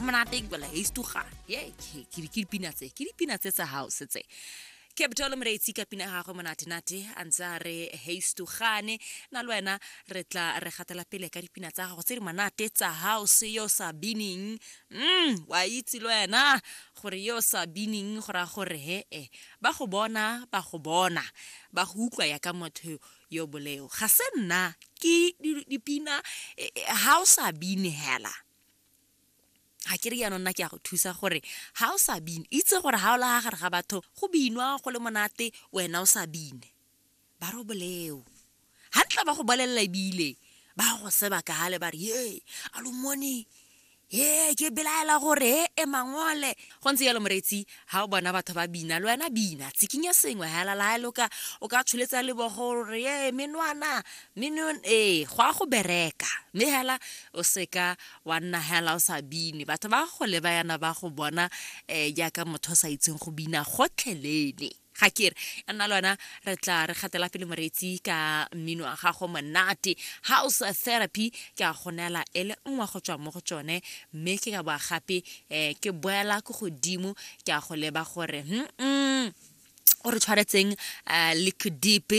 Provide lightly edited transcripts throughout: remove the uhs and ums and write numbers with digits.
Go monate ke bela heistuga. Ye ke ke dipina tse, ke dipina tse tsa house tse. Capital Moreetsi ka pina ya gagwe monate-nate a ntse a re heistugane. Na le wena re tla re gatela pele ka dipina tsa gago tse di monate tsa house yo sa bining. Wa itse le wena gore yo sa bining go raya gore he e ba go bona, ba go bona, ba go utlwa ya ka motho yo boleo. Ga se nna ke dipina ha o sa bine hela. Ga ke re jaanong nna ke a go thusa gore ha o sa bine, itse gore ha o la gare ga batho go binwa go le monate, wena o sa bine, ba re o boleo. Ga ntla ba go bolelela ebile ba go seba ka gale ba re ye a lo mone, ye ke belaela gore e e mangole. Go ntse jalo moreetsi, ha o bona batho ba bina le wena bina, tsikinya sengwe hela la le o ka tsholetsa lebogo gore ye menwana menon e go a go bereka, mme hela o seka wa nna hela o sa bine. Batho ba go leba yana ba go bona jaaka motho o sa itseng go bina gotlhelele. Ga ke re ya nna le wena re tla re gatela pele moreetsi ka mmino wa gago monate. House Therapy ke a go neela e le nngwe go tswa mo go tsone, mme ke ka boa gape ke boela ko godimo ke a go leba gore o re tshwaretseng Liquid Deep,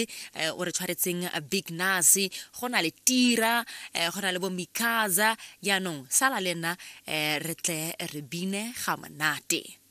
o re tshwaretseng Big Nas, go na le Tira, go na le bo Mikaza. Jaanong sala le nna, re tle re bine ga monate.